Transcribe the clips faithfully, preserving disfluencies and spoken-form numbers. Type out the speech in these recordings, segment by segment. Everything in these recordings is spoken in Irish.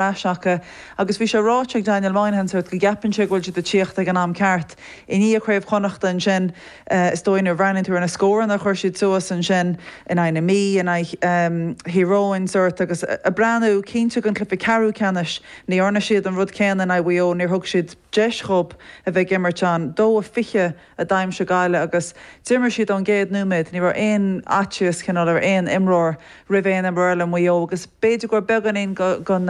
ais acu agus bhí sé ráite ag Daniel Moynihan sort go gceapann sé go bhfuil siad ag tíocht ag an am ceart. I ndiaidh Craobh Chonnachta ansin is dóigh nuair a bhreathnaíonn tú ar na scóranna a chuir siad suas ansin in aghaidh na Mí, in aghaidh Thír Eoghain sort agus ag breathnú cinnte don chluiche ceathrú ceannais ní dhearna siad an rud céanna in aghaidh Mhaigh Eo, níor thug siad deis dhóibh a bheith ag imirt ann. Dó a fiche a d'aimsigh Gaillimh agus d'imir siad ón gcéad nóiméad, ní raibh aon fhaitíos cineál ar aon imreoir roimh aon imreoir eile i Maigh Eo agus b'fhéidir go raibh beagáinín den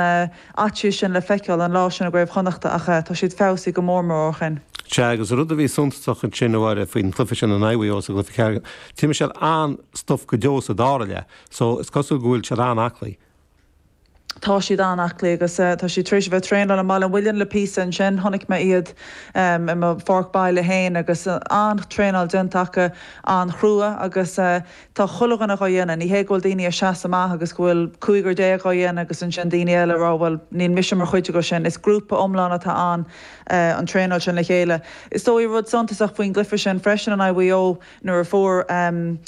fhaitíos sin le feiceáil an lá sin i gCraobh Chonnachta ach tá siad feabhsaithe go mór mór ó shin. Sea, agus rud a bhí suntasach ansin a Mháire faoin chluiche sin in aghaidh Mhaigh Eo sa gcluiche ceathrú, d'imir siad an-stuif go deo sa dara leath so is cosúil go bhfuil siad an-aclaí. Tá siad an-aclaí agus tá siad tar éis a bheith ag traenáil i mBaile an Mhuilinn le píosa ansin. Chonaic mé iad i mo pháirc baile féin agus an-traenáil déanta acu, an-chrua agus tá chuile dhuine dhá dhéanamh. Ní hé go bhfuil daoine ag seasamh amach agus go bhfuil cúigear déag dhá dhéanamh agus ansin daoine eile ag rá bhuel níl mise mar chuid acu sin. Is grúpa iomlán atá ann an traenáil sin le chéile. Is dóigh rud suntasach faoin gcluiche sin freisin in aghaidh Mhaigh Eo nuair a fuair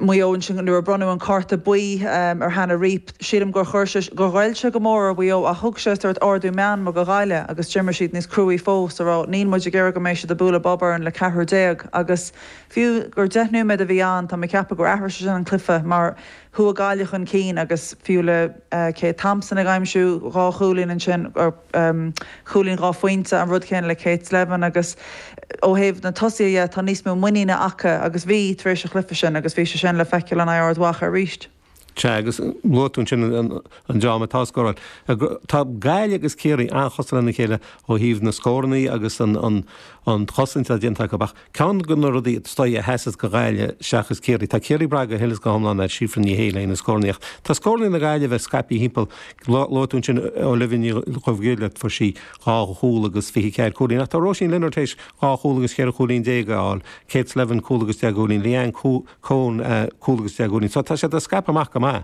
Maigh Eo ansin nuair a bronnadh an cárta buí ar Hannah Reape, sílim gur chuir sé, gur ghoill sé go mór ar Mhaigh Eo ach thug sé sórt ardú meanma do Ghaillimh agus d'imir siad níos cruaí fós a rá níl muid ag iarraidh go mbeidh siad ag bualadh bob orainn le ceathrar déag agus fiú gur deich nóiméad a bhí ann tá mé ag ceapadh gur athraigh sé sin an cluiche mar chuaigh Gaillimh chun cinn agus fiú le Kate Thompson ag aimsiú dhá chúilín ansin, chúilín dhá phointe, an rud céanna le Kate Slevin agus ó thaobh na tosaithe dhe tá níos mó muiníne acu agus bhí tar éis an chluiche sin agus bhí sé sin le feiceáil in aghaidh Ard Mhacha arís. Sea, agus luaigh tú ansin an dream atá ag scóráil. Tá Gaillimh agus Ciarraí an-chosúil lena chéile ó thaobh na scórannaí agus an chosaint atá déanta acu ach ceann de na rudaí is dóigh a sheasas do Ghaillimh seachas Ciarraí, tá Ciarraí ag brath go huile is go hiomlán ar Síofra Ní Shé le na scórannaí ach tá scórannaí na Gaillimhe scaipthe thimpeall. Luaigh tú ansin Olivia Ní Dhubhghaill, fuair sí dhá chúl agus fiche ceathair cúilín ach tá Róisín Lynagh tar éis dhá chúl agus cheithre chúilín déag a fháil, Kate Slevin cúl agus deich gcúilín, Leanne Coen cúl agus deich gcúilín. So tá siad ag scaipeadh amach go maith.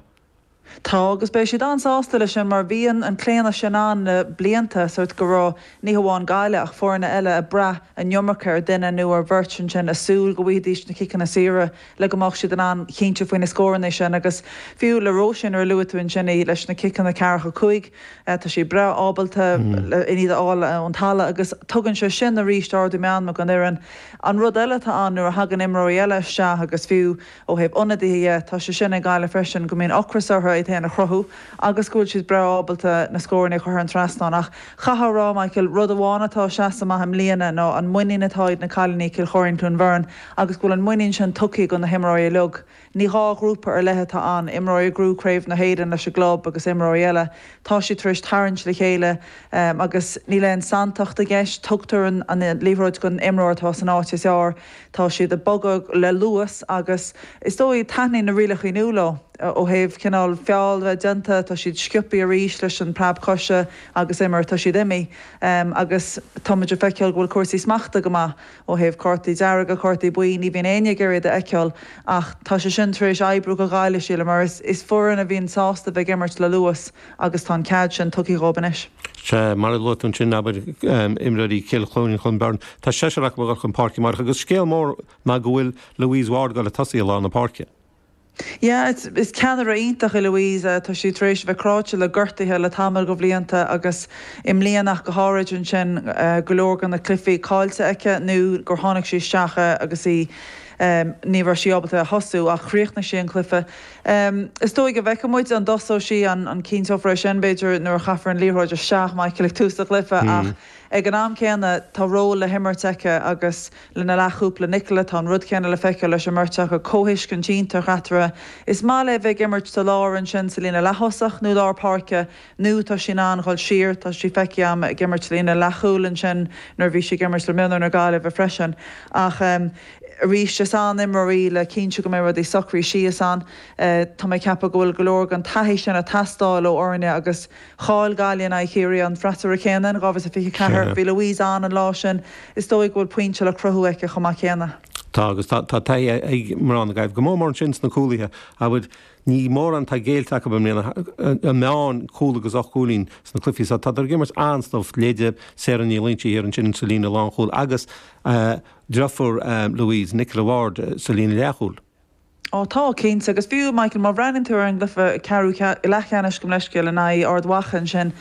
Tá, agus beidh siad an-sásta leis sin mar bhí an claonadh sin ann le blianta, sórt go raibh ní hamháin Gaillimh ach foirne eile ag brath an iomarca ar duine nó ar bheirt ansin, ag súil go bhfaighidís na ciceanna saora le go mbeadh siad in ann cinntiú faoi na scóranna sin agus fiú le Róisín nuair a luaigh tú ansin í leis na ciceanna ceathracha cúig, tá sí breá ábalta iad a fháil ón talamh agus tugann sé sin arís ardú meanma don fhoireann. An rud eile atá ann nuair a thagann imreoirí eile isteach agus fiú ó thaobh ionadaithe dhe, tá sé sin ag Gaillimh freisin, go mbíonn ocras orthu iad féin a chruthú agus go bhfuil siad breá ábalta na scóranna a chur thar an trasnán. Ach chaithfeá a rá, Michael, rud amháin atá ag seasamh amach i mbliana ná an muinín atá ag na cailíní Cill Choirín Cluain Bheirn agus go bhfuil an muinín sin tugtha do na himreoirí uilig. Ní dhá ghrúpa ar leith atá ann, imreoirí a ghnóthaigh Craobh na hÉireann leis an gclub agus imreoirí eile. Tá siad tar éis tarraingt le chéile agus níl aon santacht i gceist, tugtar an liathróid don imreoir atá san áit is fearr, tá siad ag bogadh le luas agus is dóigh taitníonn na rialacha nua leo ó thaobh cineál feall a bheith déanta, tá siad sciobtha arís leis an preab coise agus imir, tá siad imithe agus tá muid ag feiceáil go bhfuil cúrsaí smachta go maith. Ó thaobh cártaí dearga, cártaí buí, ní bhíonn éinne ag iarraidh iad a fheiceáil ach tá sé sin tar éis oibriú do Ghaillimh, sílim, mar is foireann a bhíonn sásta bheith ag imirt le luas agus tá an cead sin tugtha dhóibh anois. Sea, mar a luaigh tú ansin, abair, imreoirí Chill Chluain Chluain Bheirn, tá seisear acu ag dul chun páirce amárach agus scéal mór ná go bhfuil Louise Ward ag dul ag tosaí i lár na páirce. Yeah, is ceannaire iontach í Louise. Tá sí tar éis a bheith cráite le gortuithe le tamall de bhlianta agus i mbliana ach go háirid ansin go leor de na cluichí caillte aici nó gur tháinig sí isteach agus í ní raibh sí ábalta a thosú ach chríochnaigh sí an cluiche. Is dóigh go bhfeicfidh muid an dtosóidh sí, an cinnteofar é sin b'fhéidir nuair a chaithfear an liathróid isteach, Michael, ag tús an chluiche ach ag an am céanna tá ról le himirt aici agus lena leathchúpla Nicola, tá an rud céanna le feiceáil leis an mbeirt acu, comhthuiscint iontach eatarthu. Is maith léi bheith ag imirt sa lár ansin sa líne leath-thosach nó lár páirce nó tá sí in ann dhul siar, tá sí feicthe agam ag imirt sa líne leathchúil ansin nuair a bhí sí ag imirt le mionúir na Gaillimhe freisin. Ach arís is an-imreoir í le cinntiú go mbeidh rudaí socraithe síos ann. Tá mé ag ceapadh go bhfuil go leor den taithí sin ag teastáil ó fhoirne agus chaill Gaillimh in aghaidh Chiarraí an freasúra céanna in dhá mhíle is fiche a ceathair. Bhí Louise ann an lá sin. Is dóigh go bhfuil pointe le cruthú aici chomh maith céanna. Tá agus tá taithí ag mná na Gaillimhe go mór mór ansin sna cúlaithe. Abair, ní mórán atá géillte acu i mbliana, an meán cúl agus ocht gcúilín sna cluichí so tádar ag imirt an-stuif, leithéide Sarah Ní Loingsigh thiar ansin sa líne lánchúil agus deirfiúr Louise, Nicola Ward, sa líne leathchúil. Ó tá cinnte agus fiú Michael má bhreathnaíonn tú ar an gcluiche ceathrú leathcheannais gabh mo leithscéal in aghaidh Ard Mhacha ansin